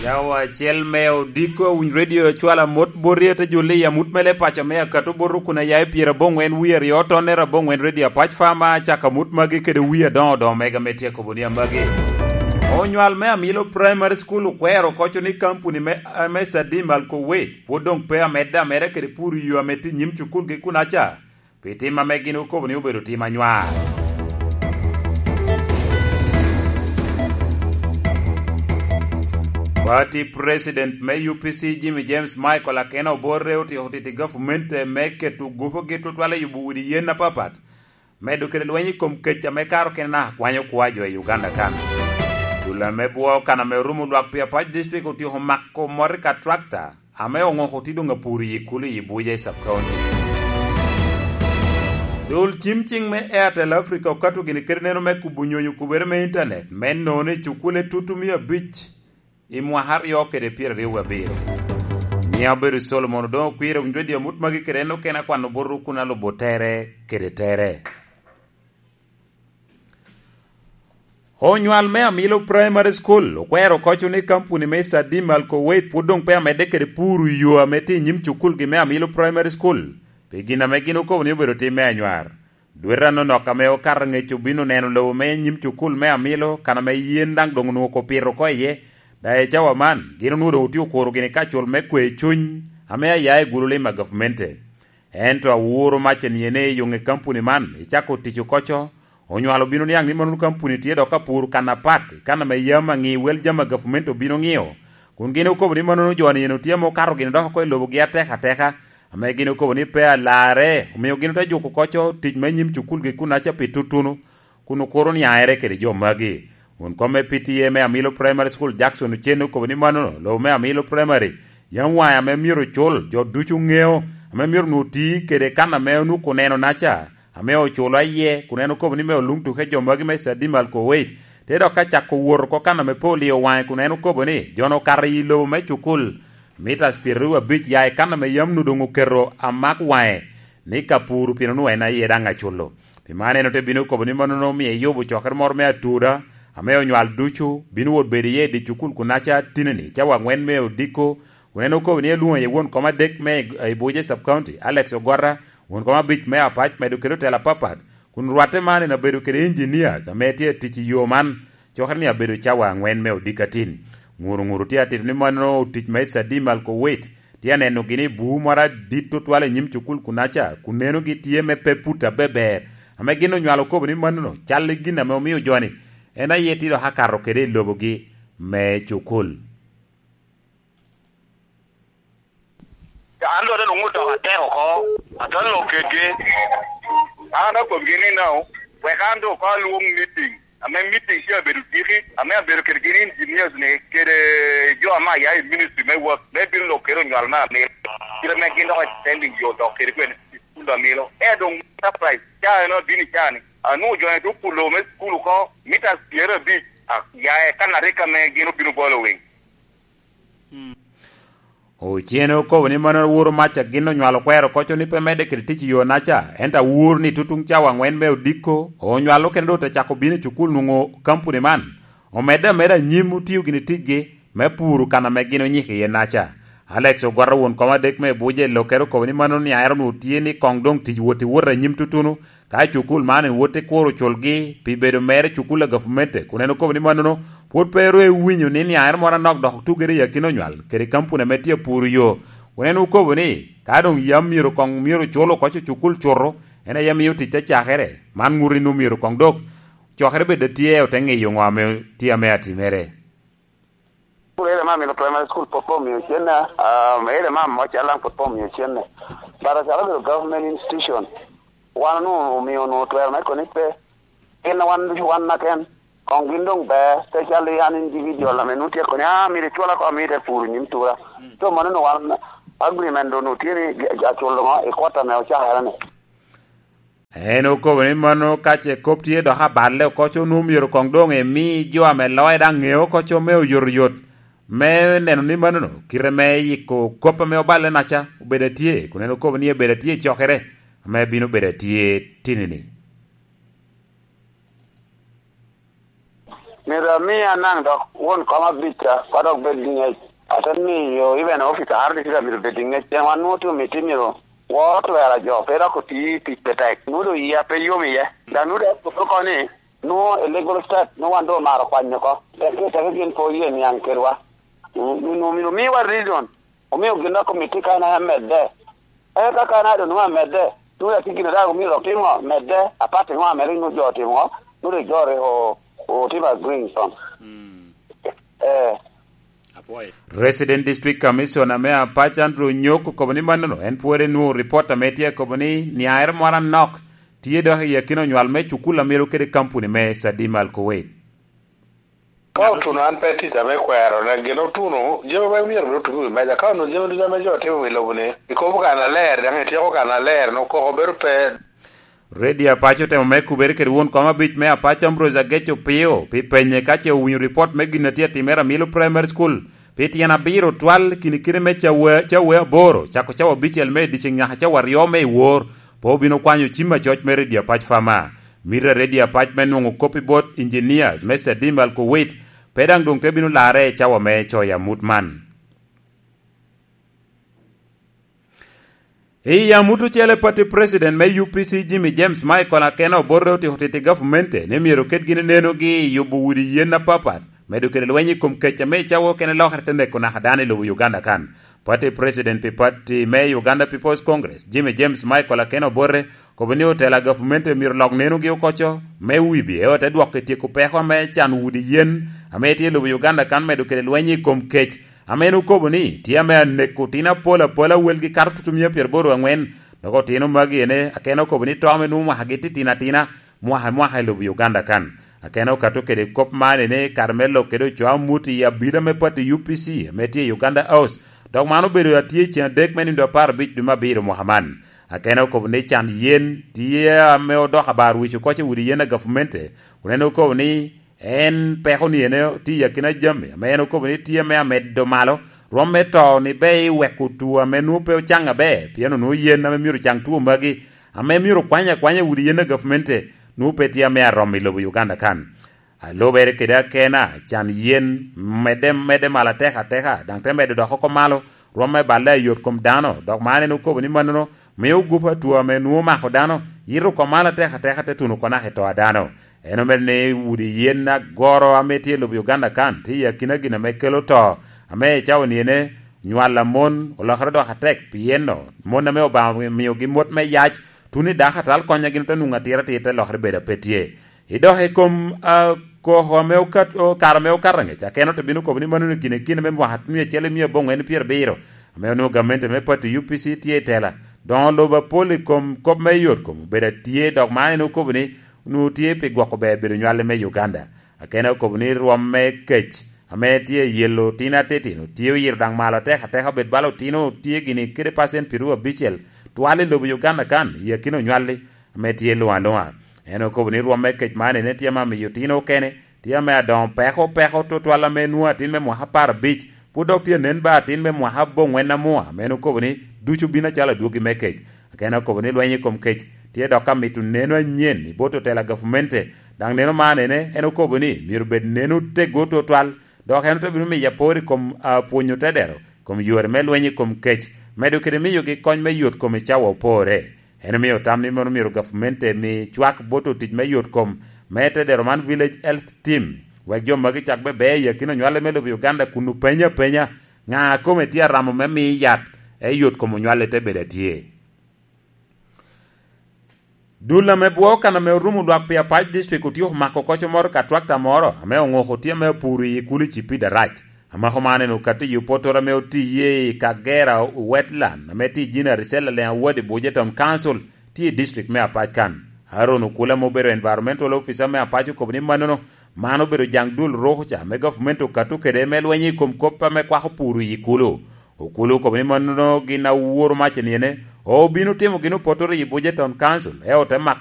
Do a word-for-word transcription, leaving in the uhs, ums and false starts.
Cawa acel me odiko, winy redio cwalo amot bot ri ate jolli i amut mele paco me akato bot rukun a ya i pyeraboŋwen wie aryo, tonne raboŋwen redio apac fama, cako amut magi kede wie adoŋo doŋo mega me tyeko boni amagi. Onywal me Amilo Primary School okwero koco ni kampuni me, me Sadim Alkowet pwod doŋ pe amedde ameda kede puro yo ame tye i nyim cukulgi kunaca, pi tim ame gin okobo ni obedo tim anywar. Party President me U P C Jimmy James Michael Akena Oborre otyeko tito i gavumenti me keto gupogi tutwal i yubo udi yen apapat, medo kede lweny i kom kec ame karo kene naka kwanyo kwo a jo i Uganda kan. Dul ame bwoo kan ame orumo lwak pi Apac District otyeko mako mot i ka tractor ame oŋoko tye doŋ apur i Ikulu i Abuja i Sub County. Dul cim ciŋ me Airtel Africa okato gini kede neno me kubo nyonyo kubere me intanet me nono i cukule tutu mia abic i mwaka aryo kede pyeraryo wie abiro. Nyiŋa obedo Solomon Odoŋo Kwir, owinyo redio amut magi kede en okene akwano bot rukun alubo tere kede tere. Onywal me Amilo Primary School okwero koco ni kampuni me Sadim Alkowet pwod doŋ pe amedde kede puro yo ame tye i nyim cukulgi me Amilo Primary School, pi gin ame gin okobo ni obedo tim me anywar. Dwete anonok ame okato ŋec obino neno lobo me nyim cukul me Amilo, kan ame yen daŋ doŋ onwoŋo kopito oko iye. Daŋ i cawa man, gin onwoŋo doŋ otye okuro gini kacul me kwe cuny ame aya i gulu lim a gavmente. Ento awuro mac eniye ni i yoŋe kampuni man icako tic okoco, onywalo obino niaŋ ni mannono kampuni tye dok ka puro kan apat i kan ame yam aŋi wel jami a gavumenti obino ŋio, kun gin okobo ni mannono jo-ni eno tye ame okato gini dok oko i lobogi atek ateka, ame gin okobo ni pe alarre, omio gin ote juko okoco tic me nyim cukulgi kunaca pi tutuno, kun okuro niaŋere kede jo magi. Won kom me P T A me Amilo Primary School, Jackson Ochen, okobo ni mannono lobo me Amilo Primary yam waŋe ame myero ocul, jo ducu ŋeo, ame myero onwoŋo ti kede kan ame onwoŋo oneno-naca, ame oculo aye, kun en okobo ni me oluŋ tuke jo magi me Sadim Alkoweit, te dok ka cako wot oko kan ame pe olio waŋe, kun en okobo ni jo-nu okato i lobo me cukul mitas pyeraryo abic ya i kan ame yam onwoŋo doŋ oketo amak waŋe ni ka puro pien onwoŋo en aye daŋ aculo. Pi man en ote bino okobo ni mannono omio eyubo cokere moro me atura, ame onywal ducu bino wot bedo iye i dye cukul kunaca tinini cawa aŋwen me odiko, kun en okobo ni elwoŋo iye won kom adek me Ibuja Sub County, Alex Ogwata, won kom abic me Apac, medo kede otelo apapat, kun rwatte man en abedo kede engineers ame tye atic i yo man, cokere ni abedo cawa aŋwen me odiko atin. Ŋuru ŋuru tye atito ni mannono otic me Sadim Alkowet tye aneno gini bur moro adit tutwal i nyim cukul kunaca, kun nenogi tye me pe put abeber, ame gin onywalo okobo ni mannono cal i gin ame omio jo-ni en aye tye dok akato kede i lobogi me cukul. An dok te luŋ odok atek oko, ate lok kedgi. An akobbigi ni, "No, wek an doŋ ko alwoŋ meeting." Ame meeting tye abedo tiki, ame abedo kede gin engineers ni, kede jo ame aya i ministry me work, me bino lok kede onywal me amil. Kite me gin dok extending yo dok kede kwene i school amilo. E doŋ surprise, ca en abino i caa ni, anwoŋo jo en te opulo me school oko, mita pyeraryo abic, a, ya e kan arika me gin obino bolo wing. Ocene okobo ni mano woro mac a gin onywalo kwero koco ni pe medde kede tic i yo-naca, ento awor ni tutuŋ cawa aŋwen me odiko, onywalo kene doŋ te cako bino i cukul nwoŋo kampuni man omedde ameda anyim otio gini ticgi me puro kan ame gin onyiko iye-naca. Alex Ogwata won kom adek me Abuja i lokkere okobo ni mano niaŋere onwoŋo tye ni koŋ doŋ tic wot i wot anyim tutuno, ka cukul man en wot i kuro culgi pi bedo mere cukul a gavumenti, kun en okobo ni mannono pwod pe ru ewinyo ni niaŋere moro anok dok otugere i akina onywal kede kampuni ame tye apuro yo, kun en okobo ni ka doŋ yam myero koŋ myero cul oko cukul cuto, en aye miyo tic te cakere. Man ŋuto ni nwoŋo myero koŋ dok cokere bed atye, ote ŋeyo ŋo ame tye ame atimere. School ere ma Amilo Primary School pwod pe omio cenne, ah, ere ma Amoca Lang pwod pe omio cenne. But acalo obedo government institution, wan onwoŋo omio onwoŋo twero me koni pe. Gin a wan ducu wan naken, koŋ gin doŋ ber, te calo an individual ame nwoŋo tye koni, "Ah, myero icwala ko, amito te puro nyim tura." So, mano onwoŋo wan agreement onwoŋo tye ni aculo ŋo i quarter ame ocakere ni. En okobo ni mano ka ce kop tye dok aballe oko, co onwoŋo myero koŋ doŋ emi jo ame loye daŋ ŋeo oko co me oyotoyot me neno ni manono kite me yiko kop ame oballe-naca obedo atye, kun en okobo ni ebedo atye i cokere ame bino bedo atye tinini. Myero ami anaŋ dok won kom abic ca, ka dok bed i ŋec. Ate miyo even office a R D C myero bed i ŋec, pien wan nwoŋo tye omiti myero woro twero a jo, pe dok oti tic tetek. Nwoŋo doŋ yia pe yom iye. Dok nwoŋo doŋ akobo oko ni, nwoŋo illegal start, nwoŋo wan doŋ omaro kwany oko. Pien tye teke gin pe oye niaŋ kedwa. Mm, nwoŋo myero omiwa reason. Omio gin dok komiti kan aye medde. Eka kan a doŋ nwoŋo amedde, nwoŋo atye gin a daŋ omio dok timo medde, apat i ŋo a medde nwoŋo jo otimo ŋo, nwoŋo rik jo rik o-, otimo agreeing con. Mm. Eh. Apwoyo. Resident District Commissioner me Apac Andrew Onyok okobo ni mannono en pwod enwoŋo ripot ame tye akobo ni niaere moro anok tye dok i akina onywal me cukul a myero kede kampuni me Sadim Al Kuwait. Ka otuno an pe tica me kwero, ne gin otuno, jami me myero bed otuno i wi meja. Ka onwoŋo jami ducu ame jo timo i lobo-ni, ikobo kannaler, daŋ ityeko kannaler, no koko bedo pe. Radio Apac otemo me kubere kede won kom abic me Apac Ambrose Ageco Pio pi penye ka ce owinyo ripot me gin a tye atimere Amilo Primary School pi tyen abiro twal kini kite me cawa, cawa aboro, cako cawa abicel me i dyeceŋ nyaka cawa aryo me i wor, pe obino kwanyo cim acoc me Radio Apac Fama. Mito a Radio Apac me nwoŋo kop i bot engineers me Sadim Al Kuwait, pe daŋ doŋ te bino larre i cawa me coyo amut man. I amut ocele, pati president me U P C Jimmy James Michael Akena Oborre otiko titi gavumenti ni myero ket gin nenogi i yubo udi yen apapat, medo kede lweny i kom kec ame i cawa okene lokere te neko naka dano i lobo Uganda kan. Pati president pi pati me Uganda People's Congress, Jimmy James Michael Akena Oborre, kobo ni otela gavumenti myero lok nenogi okoco me wibi, eo te dwoko i tyeko peko ame can udi yen ame tye i lobo Uganda kan, medo kede lweny i kom kec, ame en okobo ni tye ame aneko otino apol apol awelgi kato tutumia pyeraboro angwen, dok otino magi ene Akena okobo ni to ame nwoŋo mwakagi titino atina mwaka i mwaka i lobo Uganda kan. Akena okato kede kop man ene kare me lok kede ocoo amut i abila me pati U P C ame tye i Uganda House, dok man obedo atye ceŋ adek me nino apar abic dwe me abiro mwaka man. Akena okobo ni can yen tye ame odoko abar wic okoco i udi yen a gavumenti, kun en okobo ni en peko ni ene tye i akina jami ame en okobo ni tye me amedo malo rwom me to ni be i weko two ame nwoŋo pe ocaŋ aber, pien onwoŋo yen ame myero ocaŋ two magi ame myero okwany akwanya i udi yen a gavumenti nwoŋo pe tye ame arom i lobo Uganda kan. A lubere kede Akena, can yen medde, medde malo atek ateka, daŋ te medo dok oko malo, rwom me balle a yot kom dano, dok man en okobo ni mannono mio gup atwo ame nwoŋo omako dano, yito oko malo atek ateka te tuno oko naka i to a dano. En omedo ni udi yen agoro ame tye i lobo Uganda kan, tye i akina gin ame kelo to, ame i cawa ni ene, nywal a mon olokere dok atek, pien no, mon ame Obaŋa omiogi mot me yac, tuno i dako atal konyo gin ote nwoŋo atira atir te lokere bedo a pe tye. I dok i kom, ah, koko ame okat-, o-, kare ame okato angec, Akena ote bino kobo ni mano ni gin i kine me mwaka mia acel i mia aboŋwen pyerabiro, ame onwoŋo gamente me pati U P C tye i tela, doŋo lobo apol i kom kop me yot kom obedo atye, dok man en okobo ni onwoŋo tye pi gwoko ber bedo nywal me Uganda. Akena okobo ni rwom me kec ame tye i yelo tin atetino tye oyito daŋ malo atek ateka, obed bala otino tye gini kede pacent pyeraryo abicel twal i lobo Uganda kan i akina onywalli ame tye luŋ aluŋa. En okobo ni rwom me kec man ene tye ame amiyo otino okene tye ame adoŋo peko peko tutwal ame nwoŋo atin me mwaka apar abic, pwod dok tye anen ba atin me mwaka aboŋwen amua, ame en okobo ni ducu bino acalo adwogi me kec. Akena okobo ni lweny i kom kec tye dok ka mito neno anyen i bot otela gavumenti, daŋ neno man ene en okobo ni myero bed neno tego tutwal, dok en ote bino miyo apor i kom, ah, pwonyo tedero kom yore me lweny i kom kec, medo kede miyogi kony me yot kom i cawa opore. En omio tam ni mono myero gavumenti emi cwak bot otic me yot kom me tedero man Village Health Team, wek jo magi cak bebe i akina onywale me lobo Uganda kun openy apenya ŋa kome tye aramo me mi yat, e yot kom onywale te bedo atye. Dul ame bwo kan ame orumo lwak pi Apac District otyeko mako koco moro ka twakta moro ame oŋoko tye ame opuro i kulu i Cipid Arac. Amako man en okato i opotoro ame otiye i Kagera Wetland ame tye i Jina Risel Aleng Awadi Buja Town Council tye i district me Apac kan. Aaron Okula ame obedo environmental officer me Apac okobo ni mannono, man obedo jaŋ dul ruko ca ame gavumenti okato kede me lweny i kom kop ame kwako puro i kulu. Okulu okobo ni mannono gin aworo mac eniene obino timo gin opotoro i Buja Town Council, eo te mako